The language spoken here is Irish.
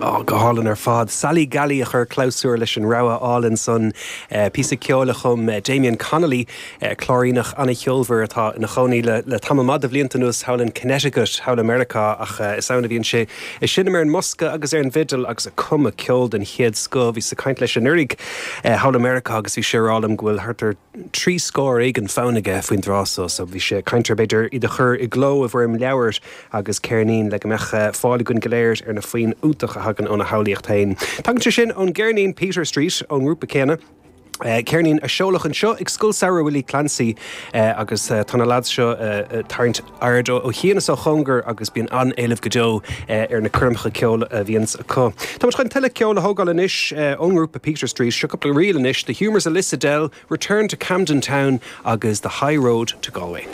Ó, go hálainn ar fad. Sally Gally a chuir clabhsúr leis an rogha álainn san. Píosa ceoil a chum Damien Connolly, Cláiríneach an-cheolmhar atá ina chónaí le tamall maith de bhlianta anuas thall in Connecticut, thall i Meiriceá, ach is ann a bhíonn sé ag seinm ar an mbosca agus ar an bhfidil agus ag cumadh ceol den chéad scoth. Bhíos ag caint leis anuraidh thall i Meiriceá agus bhí sé ag rá liom go bhfuil thart ar 30 scór éigin fonn aige faoin dtráth so, so bhí sé ag caint ar b'fhéidir iad a chur i gcló i bhfoirm leabhair agus ceirnín le go mbeadh fáil againn go léir ar na foinn iontacha a thagann óna shamhlaíocht féin. Tagann sé sin ón gceirnín Peter Street ón ngrúpa céanna. Ceirnín a seoladh anseo ag Scoil Samhraidh Willie Clancy agus tá na lads seo ag tarraingt aird ó chian is ó chóngar agus bíonn an-éileamh go deo ar na coirmeacha ceoil a bhíonns acu. Tá muid chun tuilleadh ceoil a thógáil anois ón ngrúpa Peter Street. Seo cúpla ríl anois, The Humours of Lissadell, Return to Camden Town agus The High Road to Galway.